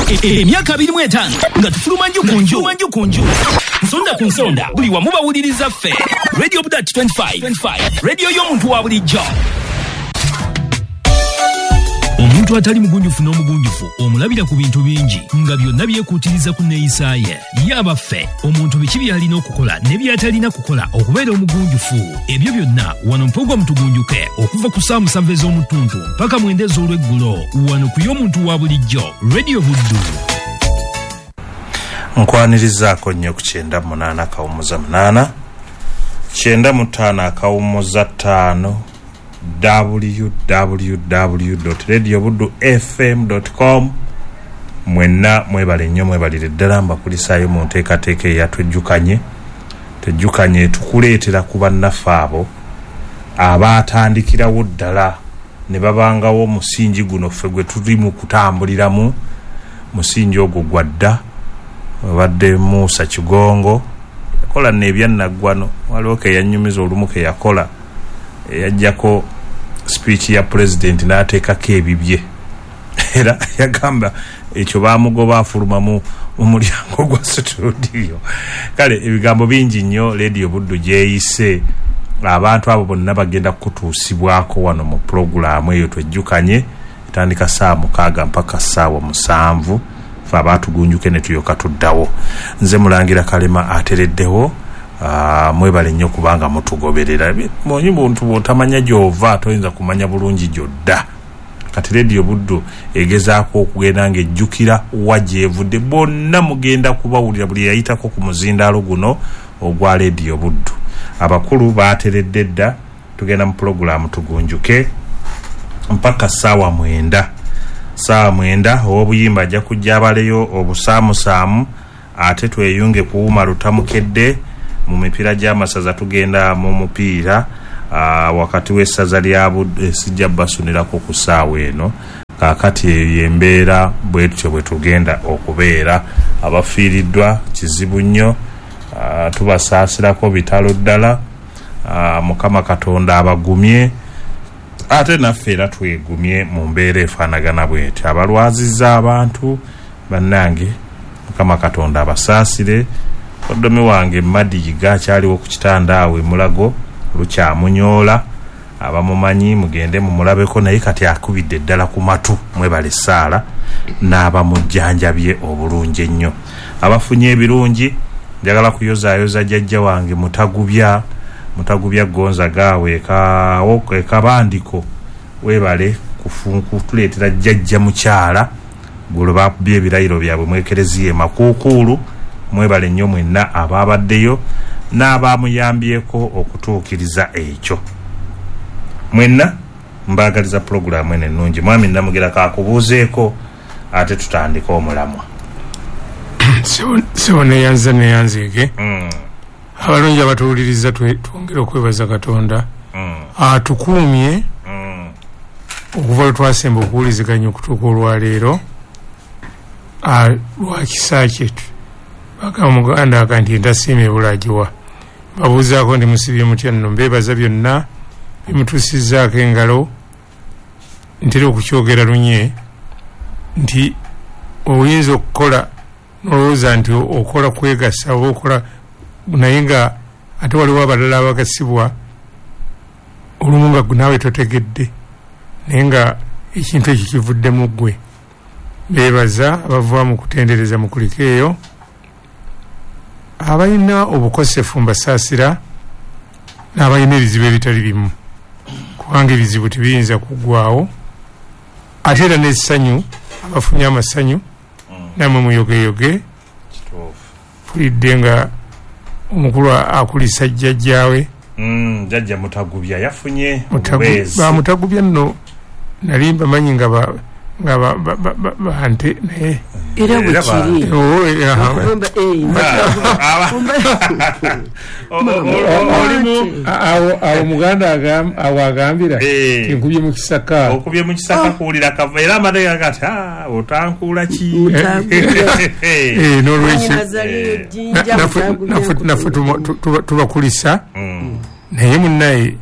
Emyaka 25 nga tufuluma nju ku nju, nsonda ku nsonda, buli wamu bawuliriza ffe. Radio Budat 25, radio y'omuntu wa bulijjo. Omuntu atali mugunjufu n'omugunjufu omulabira ku bintu bingi nga byonna byekuutiriza ku neeyisa ye. Ye abaffe, omuntu biki by'alina okukola ne by'atalina kukola okubeera omugunjufu? Ebyo byonna wano mpogwa mutugunjuke okuva ku ssaawa 7 ez'omutuntu mpaka 9 ez'olweggulo wano ku y'omuntu wa bulijjo Radio Buddu. Nkwanirizaako nnyo ku 98 kawummuza 8 95 kawummuza 5 www.radiobuddufm.com. Mwenna mwebale nnyo, mwebalire ddala, mbakulisaayo mu nteekateeka eyatwejjukanye. Tejjukanye tukuleetera ku bannaffe abo abaatandikirawo ddala ne babangawo omusingi guno ffe gwe tuli mu kutambuliramu. Musingi ogwo gwa dda, obadde Musa Kigongo yakola n'ebyannaggwano, waliwo ke yannyumiza olumu ke yakola eyajjako speech ya president n'ateekako ebibye, era yagamba ekyo baamugoba afuluma mu mulyango gwa studio. Kale ebigambo bingi nnyo Radio Buddu gyeyise, abantu abo bonna bagenda kutuusibwako wano mu pulogulaamu eyo twejjukanye. Etandika ssaawa 6 mpaka ssaawa 7, ffe abaatugunjuke ne tuyoka tuddawo. Nze Mulangira Kalema atereddewo. Mwebale nnyo kubanga mutugoberera. Monyi buntu bw'otamanya gy'ova toyinza kumanya bulungi gy'odda. Kati Radio Buddu egezaako okugenda ng'ejjukira wa gy'evudde. Bonna mugenda kubawulira buli yayitako ku muzindaalo guno ogwa Radio Buddu. Abakulu baateredde dda, tugenda mu pulogulaamu tugunjuke mpaka ssaawa 9. Ssaawa 9 ow'obuyimba ajja kujja abaleyo obusaamusaamu, ate tweyunge kuwuma lutamukedde mu mipiira gy'amasaza. Tugenda mu mupiira wakati w'essaza lya Buddu, sijja basunirako ku ssaawa eno. Kaakati eyo embeera bwe tutyo bwe tugenda okubeera. Abafiiriddwa kizibu nnyo, tubasaasirako bitalo ddala. Mukama Katonda abagumye, ate naffe era twegumye mu mbeera efaanagana bw'etyo. Abalwazizza abantu bannange, Mukama Katonda abasaasire. Oddomi wange Madiyiga akyaliwo ku kitanda awo e Mulago, lukyamunyoola. Abamumanyi mugende mumulabeko, naye kati akubidde ddala ku matu. Mwebale essaala n'abamujjanjabye obulungi ennyo. Abafunye ebirungi, njagala kuyozaayoza jjajja wange Mutagubya, Mutagubya Gonzaga awo ekabandiko. Weebale kutuleetera jjajja mukyala gwe bakubye ebirayiro byabwe mu Ekereziya e Makuukuulu. Mwebale nnyo mwenna abaabaddeyo n'abamuyambyeko okutuukiriza ekyo. Mwenna mbaagaliza pulogulaamu eno ennungi. Mwami Namugera kakubuuzeeko ate tutandike omulamwa. Sebo neyanza neyanzeeke. Abalungi abatuwuliriza twongere okwebaza Katonda atukuumye okuva lwe twasemba okuwuliziganya okutuuka olwaleero lwa kisa kyetu. Bagamba Muganda aga nti entasiima ebula agiwa. Babuuzaako nti musibye mutya nno, mbeebaza byonna bimutuusizzaako engalo. Ntera okukyogera lunye nti oyinza okukola nolowooza nti okola kwegasa oba okola, naye nga ate waliwo abalala abagasibwa olumu nga naawe totegedde, naye nga ekintu ekyo kivuddemu ggwe. Beebaza abava mu kutendereza mukuliko eyo. Abalina obukosefu mbasaasira, n'abalina ebizibu ebitali bimu, kubanga ebizibu tebiyinza kuggwawo. Ate era n'essanyu, abafunye amasanyu nammwe muyogeyoge. Mpulidde nga omukulu akulisa jjajjaawe Jjajja Mutagubya yafunye obubeezi. Bamutagubya nno nali mbamanyi nga bante, naye era bwe kiri. Awo Muganda awo agambira tinkubye mu kisaka. Okubye mu kisaka kuwulira kava, era amateeka gati otankuula ki? N'olwekyo naffe tubakulisa, naye munnaye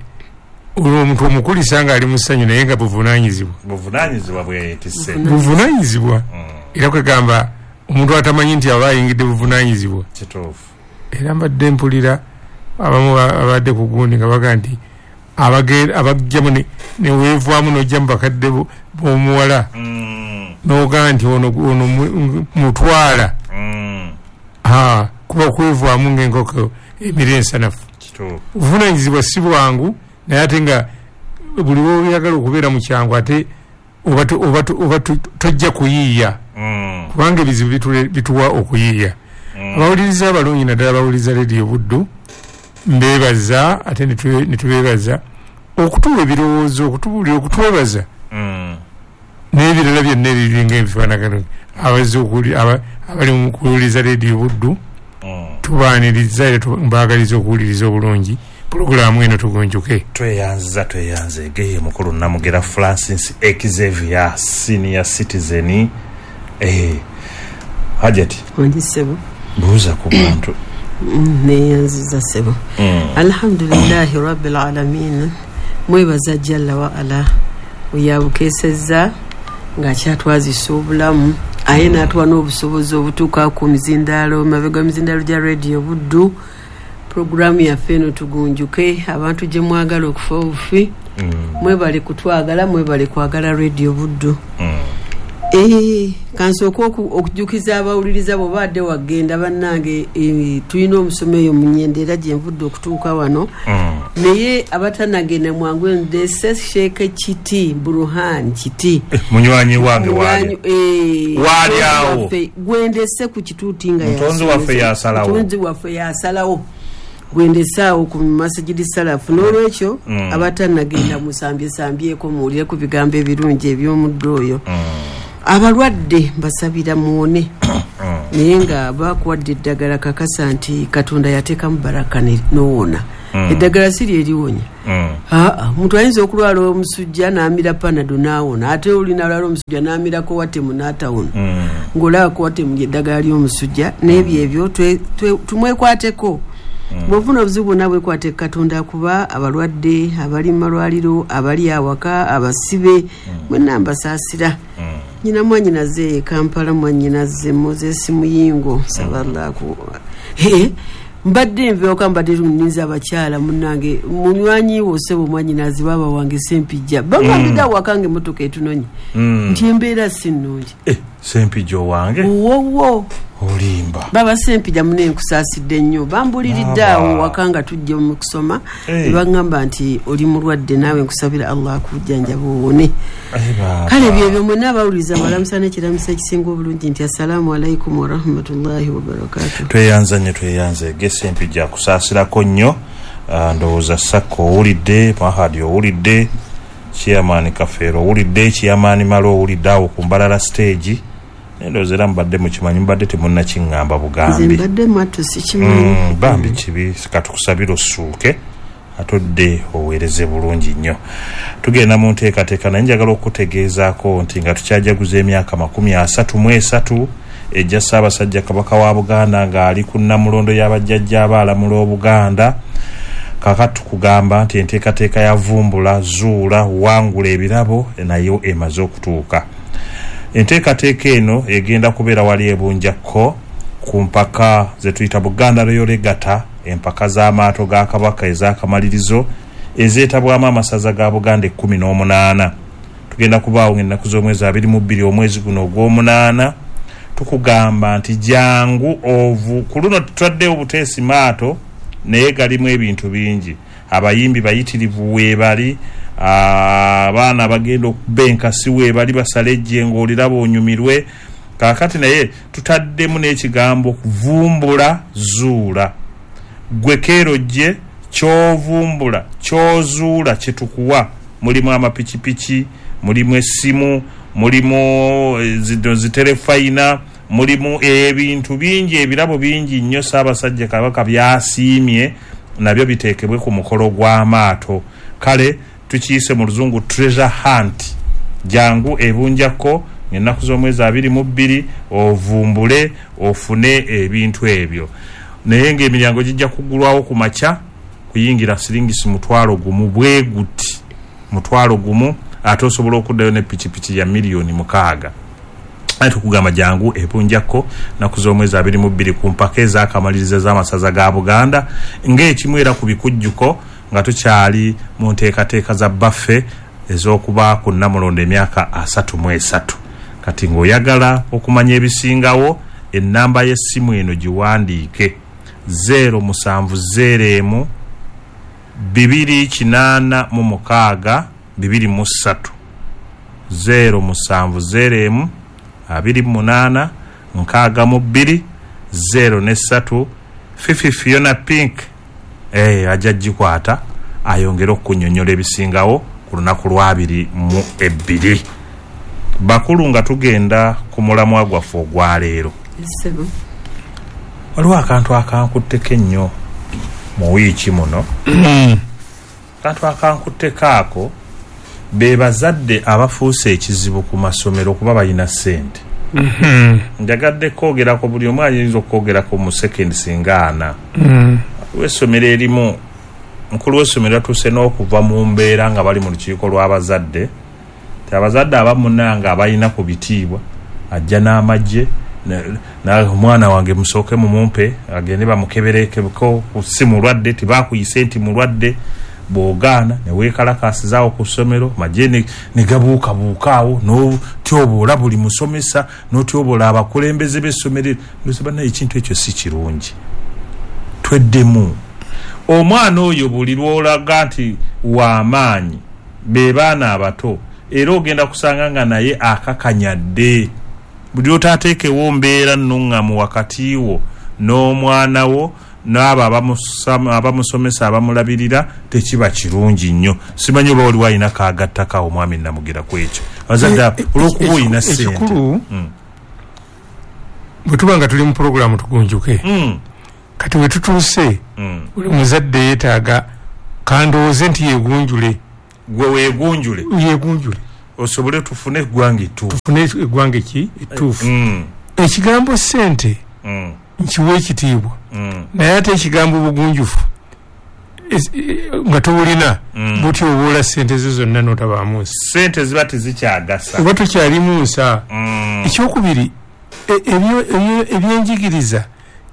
omuntu omukulisa ng'ali mu ssanyu naye nga buvunaanyizibwa. Buvunaanyizibwa bwe yeetisse. Buvunaanyizibwa. Era kwegamba omuntu atamanyi nti aba ayingidde buvunaanyizibwa. Kituufu. Era mbadde mpulira abamu abadde ku gundi nga baga nti abajjamu ne weevaamu n'ojja mu bakadde b'omuwala n'ogaa nti ono mutwala kuba kwevaamu ng'enkoko emira ensanafu. Obuvunaanyizibwa si bwangu, naye ate nga buli lw'oyagala okubeera mu kyangu ate oba tojja kuyiiya, kubanga ebizibu bituwa okuyiiya. Abawuliriza abalungi naddala abawuliriza Rediyo Buddu mbeebaza, ate ne tubeebaza okutuwa ebirowoozo, okutubuulira, okutwebaza n'ebirala byonna ebiringa ebifaanagano. Abazze abali mu kuwuliriza Rediyo Buddu tubaaniriza era mbaagaliza okuwuliriza obulungi pulogulaamu eno tugunjuke. Tweyanziza, tweyanze geye mukulu Namugera Francis Xavier senior citizen. Hajati wangi ssebo, mbuuza ku bantu. Neyanziza ssebo. Alhamdulillahi rabbil alamin, mwebaza jalla wa ala oyabukeesezza ng'akyatwazisa obulamu, aye n'atuwa n'obusobozi obutuuka ku mizindaalo, mabega mizindaalo gya Rediyo Buddu. Pulogulaamu yaffe eno tugunjuke, abantu gye mwagala okufa obufi, mwebale kutwagala, mwebale kwagala Rediyo Buddu. Kansooke okujjukiza abawuliriza bw'oba adde wagenda bannange, tulina omusomo eyo mu Nyendo era gye nvudde okutuuka wano. Naye abatannagenda mwangu ndese Sheikh Kiti Buruhan Kiti, munywanyi wange waali awo gwendese ku kituuti nga mutonzi waffe yasalawo, mutonzi waffe yasalawo gwendese awo ku Masjidi Salafu. N'olwekyo abatannagenda musambye sambyeko muwulire ku bigambo ebirungi eby'omuddo oyo. Abalwadde mbasabira muwone, naye nga bakuwadde eddagala kakasa nti Katonda yateekamu baraka n'owona. Eddagala si lye liwonya. Omuntu ayinza okulwala omusujja n'amira Panado n'awona, ate oli n'alwala omusujja n'amirako watemu n'atawona, ng'olaba watemu ly'eddagala ly'omusujja. N'ebyo ebyo tumwekwateko. Bw'ofuna obuzibu bwonna bwekwate Katonda, kuba abalwadde abali mu malwaliro, abali awaka, abasibe, mwenna mbasaasira. Nyina mwannyinaze e Kampala, mwannyinaze Moses Muyingo, nsaba Allah mbadde nveoka, mbadde nninza abakyala munnange, munywanyi wo ssebo mwannyinaze baaba wange Sempijja, bangambidde awaka nga emmotoka etunonye nti embeera si nnungi. Sempijja owange wowo olimba. Baba Sempijja mune nkusaasidde nnyo, bambuliridde awo waka nga tujja mu kusoma ne baŋŋamba nti oli mulwadde, naawe nkusabira Allah akujjanjaba owone. Kale byebyo mwenna abawuliriza mbalamusa n'ekiramuso ekisinga obulungi nti assalaamu alaikum warahmatullahi wabarakatuh. Tweyanza nnyo, tweyanze ge Sempijja akusaasirako nnyo. Ndowooza Sakko owulidde, Mahadi owulidde, Chairman Kafeero owulidde, Chairman Malo owulidde awo ku Mbalala stage. Ndowooza era mubadde mukimanyi, mubadde temunnakiŋŋamba bugambi. Nze mbadde mwattu sikimanyi. Bambi kibi, katukusabire ossuuke atodde oweereze bulungi nnyo. Tugenda mu nteekateeka, naye njagala okutegeezaako nti nga tukyajaguza emyaka 33 ejja Ssaabasajja Kabaka wa Buganda ng'ali ku nnamulondo y'abajjajja abaalamula Obuganda, kaakati tukugamba nti enteekateeka ya Vumbula, Zuula, Wangula ebirabo nayo emaze okutuuka. Enteekateeka eno egenda kubeera wali ebunjakko ku mpaka ze tuyita Buganda Royal Regatta, empaka z'amaato ga Kabaka ez'akamalirizo ezeetabwamu amasaza ga Buganda 18. Tugenda kubaawo ng'ennaku z'omwezi 22 omwezi guno ogw'omunaana. Tukugamba nti jangu ovu ku luno tutaddewo obuteesi maato, naye galimu ebintu bingi. Abayimbi bayitirivu weebali, abaana bagenda okuba enkasi weebali, basale ejjengo oliraba onyumirwe. Kaakati naye tutaddemu n'ekigambo kuvumbula zuula. Gwe keero gye ky'ovumbula ky'ozuula kye tukuwa. Mulimu amapikipiki, mulimu essimu, mulimu ziterefayina, mulimu ebintu bingi, ebirabo bingi nnyo Ssaabasajja Kabaka byasiimye nabyo biteekebwe ku mukolo gw'amaato. Kale tukiyise mu luzungu treasure hunt. Jangu ebunjakko ng'ennaku z'omwezi 22 ovumbule ofune ebintu ebyo. Naye ng'emiryango gijja kuggulwawo ku makya, kuyingira siringisi 1,000 bwe guti, 1,000, ate osobola okuddayo ne pikipiki ya 6 million. Aye tukugamba jangu ebunjako naku z'omwezi 22 ku mpaka ez'akamalirizo z'amasaza ga Buganda ng'ekimu era ku bikujjuko nga tukyali mu nteekateeka za baffe ez'okuba ku Nnamulondo emyaka 33. Kati ng'oyagala okumanya ebisingawo, ennamba y'essimu eno giwandiike: 0701 286 23, 0701 28 62 03. Fifi Fiona Pink ajja gikwata ayongere okunyonyola ebisingawo ku lunaku lwa 22. Bakulu, nga tugenda ku mulamwa gwaffe ogwaleero, Ssebo. waliwo akantu akankutteko ennyo mu wiiki muno. Akantu akankutteko ako be bazadde abafuuse ekizibu ku masomero kuba balina ssente. Njagadde kwogerako, buli omu ayinza okwogerako mu sekendi singa ana. W'essomero erimu, mukulu w'essomero atuuse n'okuva mu mbeera nga bali mu lukiiko lw'abazadde, ti abazadde abamunanga abalina ku bitiibwa ajja n'amagye, omwana wange musooke mumumpe agende bamukeberekeko si mulwadde, tibakuyise nti mulwadde. Bw'ogaana ne weekalakaasizaawo ku ssomero, magye ne gabuukabuuka awo, n'otyoboola buli musomesa, n'otyoboola abakulembeze b'essomero. Ndowooza bannaye ekintu ekyo si kirungi, tweddemu. Omwana oyo buli lw'olaga nti w'amaanyi, be baana abato, era ogenda kusanga nga naye akakanyadde. Buli lw'otaateekewo mbeera nnuŋŋamu wakati wo n'omwana wo n'abo abamusomesa abamulabirira, tekiba kirungi nnyo. Simanyi oba waliwo alina kaagattako awo, mwami Namugira, ku ekyo abazadde olw'okuba olina ssente. Ekikulu, bwe tuba nga tuli mu puroguramu tugunjuke, kati we tutuuse, buli muzadde yeetaaga kandowooze nti yeegunjule. Gwe weegunjule. Yeegunjule. Osobole tufune eggwanga ettuufu. Tufune eggwanga eki ettuufu. Ekigambo ssente nkiwa ekitiibwa, naye ate ekigambo bugunjufu nga tobulina, butyoboola ssente zo zonna n'otabaamu nsi. Ssente ziba tezikyagasa. Oba tukyalimu nsa. Ekyokubiri, ebyenjigiriza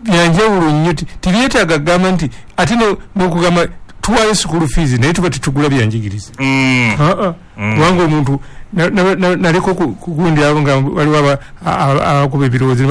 byanjawulo nnyo, tibyetaaga kugamba nti ate n'okugamba tuwaayo school fees naye tuba tetugula byanjigiriza. Aa, kubanga omuntu naleka okugundi abo nga waliwo abakuba ebirowoozo.